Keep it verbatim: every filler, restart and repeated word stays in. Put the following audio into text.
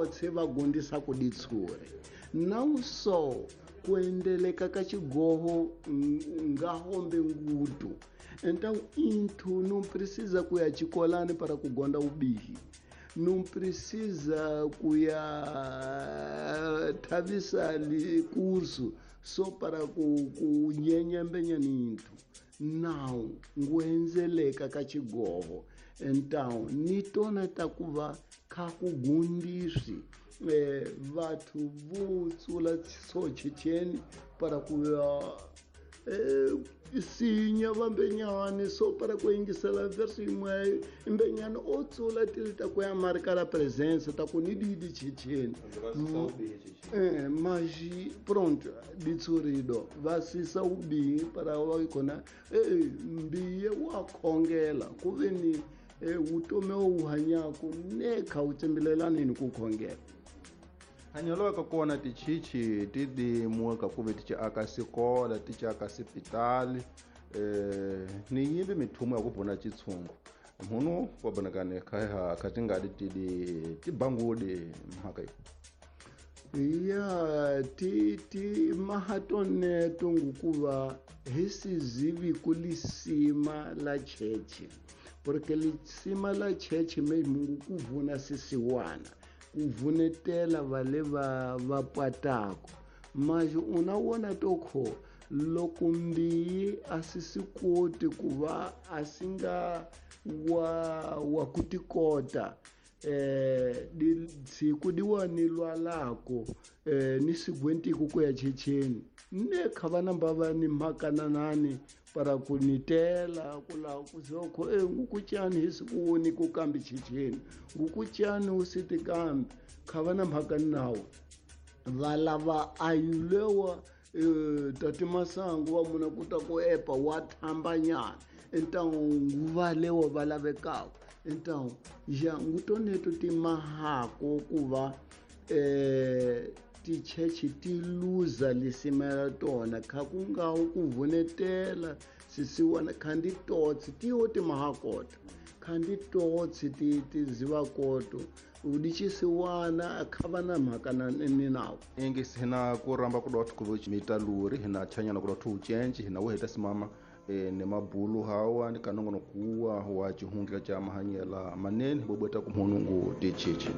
Tse va gundisa ku ditsure não só kuendeleka ka xigoho ngahombe ngutu. Então into não precisa kuya chikolani para kugonda ubihi, não precisa kuya thavisa li curso só para ku kunyenyembenya nintu. Não nguenzeleka ka xigoho. Então nitona takuva kha kugundiswi eh vathu vutsula so checheni para kuya eh sinya vambenyane so para kuingisela verso imwe imbenyane otsula tilita kuya marca la presença ta kunididi checheni eh mas pronto ditsurido vasisa ubi para wakona eh mbiye wakhongela kuveni eh utome uhanyako nekha utsembelelani ni kukhongela. Hanyelo ka kona tichichi ti dimuka ka kuve ti aka sikola ti aka sipitali eh ni yimbi mithumo ya ku bona chitshungu munhu wa bonakane kha kha tingadi ti di ti bangudi mhaka yi ya ti ti mahatone tungukuva hi sizivi kulisima la cheche porque lisima la cheche me mungu kuvuna sisiwana kuvunetela vale va va patako mas una wona tokho loko mbiyi asisikoti kuva asinga wa wa kutikota eh di siku diwani lwalako eh ni sigwentiku kuya checheni ne khavana mbava ni makananani para kunitela kula kuzokho eh ngukutyani hisikuni kukambi checheni ngukutyani usitikambi khavana mhakanawo valava ayulewa eh tati masangu wa muna kuta ku epa wa thambanyana então nguva lewa valavekako. Então já ngutoneto timahako kuva eh tichechi ti luza lisima tona kha kungawo kuvunetela sisiwana khandi totsi tiwo timahakota khandi totsi ti tizivakoto udicisiwana akhavana mhaka na ni nawo ingisi hina ku ramba ku dot ku mita luri hina chanyana ku dot ucenji hina wo heta simama e ne mabulu hawa ni kanongono kuwa wa chihundla cha mahanyela manene bobweta ku mhunungu tichichi.